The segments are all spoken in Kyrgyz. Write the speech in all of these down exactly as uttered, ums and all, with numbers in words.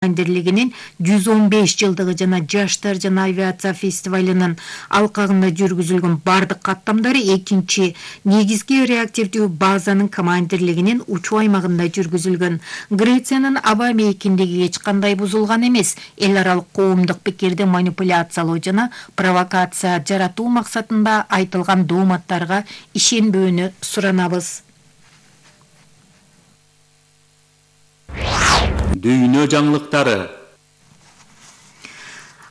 командирлигинин жүз он беш жылдыгы жана жаштар жана авиация фестивалынын алкагында жүргүзүлгөн бардык каттамдары экинчи негизги реактивдүү базанын командирлигинин учуу аймагында жүргүзүлгөн. Грециянын аба мейкиндиги эч кандай бузулган эмес. Эл аралык коомдук пикирди манипуляциялоо жана провокация жаратуу максатында айтылган дооматтарга ишенбөөнү суранабыз. Дүйнө жаңылыктары.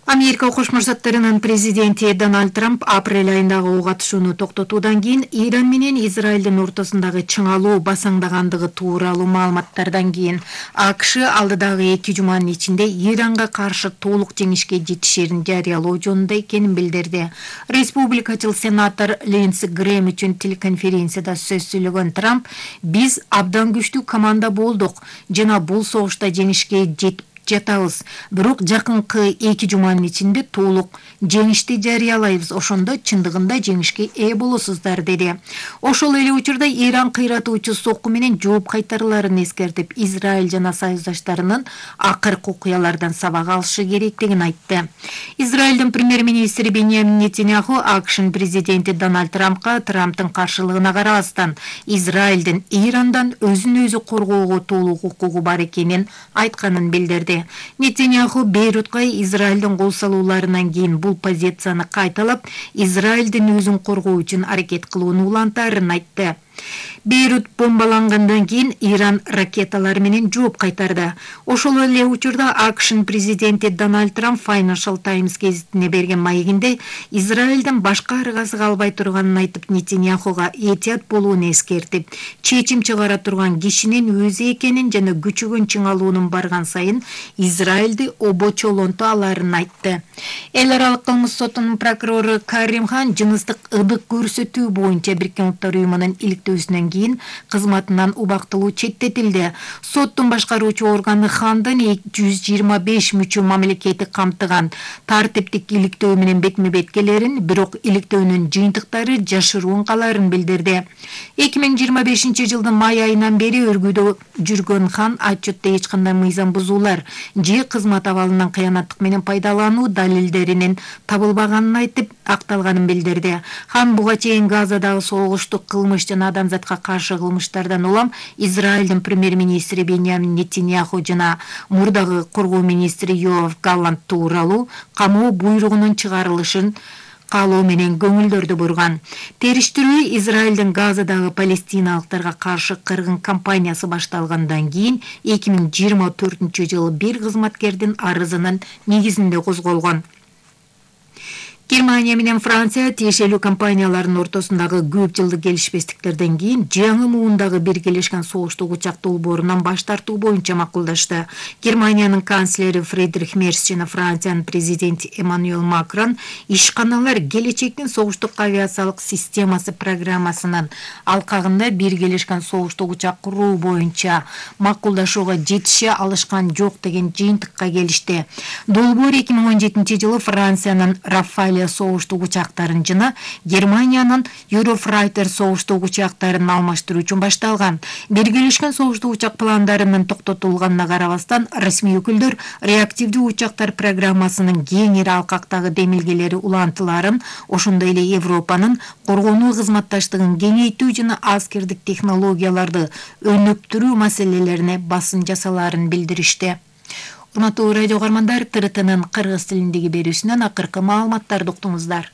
Америка Кошмо Штаттарынын президенти Дональд Трамп апрель айындагы ок атышууну токтотуудан кийин Иран менен Израилдин ортосундагы чыңалуу басаңдагандыгы тууралуу маалыматтардан кийин АКШ алдыдагы эки жуманын ичинде Иранга каршы толук жеңишке жетишерин жарыялоо жөнүндө экенин билдирди. Республикачыл сенатор Линдси Грэм үчүн телеконференцияда сөз сүйлөгөн Трамп: "Биз абдан күчтүү команда болдук жана бул согушта жеңишке жетип жатабыз. Бирок жакынкы эки жуманын ичинде толук жеңишти жарыялайбыз. Ошондо чындыгында жеңишке ээ болосуздар", деди. Ошол эле учурда Иран кыйратуучу сокку менен жооп кайтарыларын эскертип, Израиль жана союздаштарынын акыркы окуялардан сабак алышы керектигин айтты. Израилдин премьер-министри Беньямин Нетаньяху АКШнын президенти Дональд Трампка Трамптын каршылыгына карабастан Израилдин Ирандан өзүн өзү коргоого толук укугу бар экенин айтканын билдирди. Нетаньяху Бейрутка Израилдин кол салууларынан кийин бул позицияны кайталап, Израилдин өзүн коргоо үчүн аракет кылууну улантаарын айтты. Бейрут бомбалангандан кийин Иран ракеталар менен жооп кайтарды. Ошол эле учурда АКШнын президенти Дональд Трамп Financial Times гезитине берген маегинде Израилдин башка аргасы калбай турганын айтып, Нетаньяхуга этият болууну эскертип, чечим чыгара турган кишинин өзү экенин жана күчөгөн чыңалуунун барган сайын Израилди обочолонто аларын айтты. Эл аралык кылмыш сотунун прокурору Карим Хан жыныстык ыдык көрсөтүү боюнча Бириккен Улуттар уюмунун иликтөөсүнөн кийин кызматынан убактылуу четтетилди. Соттун башкаруучу органы Хандын жүз жыйырма беш мүчө мамлекети камтыган тартиптик иликтөө менен бетме-бет келерин, бирок иликтөөнүн жыйынтыктары жашыруун каларын билдирди. эки миң жыйырма бешинчи жылдын май айынан бери өргүүдө жүргөн Хан отчетто эч кандай мыйзам бузуулар же кызмат абалынан кыянаттык менен пайдалануу далилдеринин табылбаганын айтып, акталганын билдирди. Хан буга чейин Газадагы согуштук кылмыш жана адамзатка каршы кылмыштардан улам Израилдин премьер-министри Беньямин Нетаньяху жана мурдагы коргоо министри Йоав Галлант тууралуу камоо буйругунун чыгарылышын каалоо менен көңүлдөрдү бурган. Териштирүү Израилдин Газадагы палестиналыктарга каршы кыргын кампаниясы башталгандан кийин эки миң жыйырма төртүнчү жылы бир кызматкердин арызынын негизинде козголгон. Германия менен Франция тиешелүү компаниялардын ортосундагы көп жылдык келишпестиктерден кийин жаңы муундагы Биргелешкен Согуштук учак долбоорунан баш тартуу боюнча макулдашты. Германиянын канцлери Фридрих Мерц жана Франциянын президенти Эммануэль Макрон ишканалар келечектин согуштук авиациялык системасы программасынын алкагында Биргелешкен Согуштук учак куруу боюнча макулдашууга жетише алышкан жок деген жыйынтыкка келишти. Долбоор эки миң он жетинчи жылы Франциянын Рафале согуштук учактарын жана Германиянын Eurofreiter согуштук учактарын алмаштыруу үчүн башталган. Биргелешкен согуштук учак пландарынын токтотулганына карабастан, расмий өкүлдөр реактивдүү учактар программасынын кеңири алкактагы демилгелери улантыларын, ошондой эле Европанын коргонуу кызматташтыгын кеңейтүү жана аскердик технологияларды өнүктүрүү маселелерине басым жасаларын билдиришти. Урматтуу радио каармандар, ТРТнын кыргыз тилиндеги берүүсүнөн акыркы маалыматтарды уктуңуздар.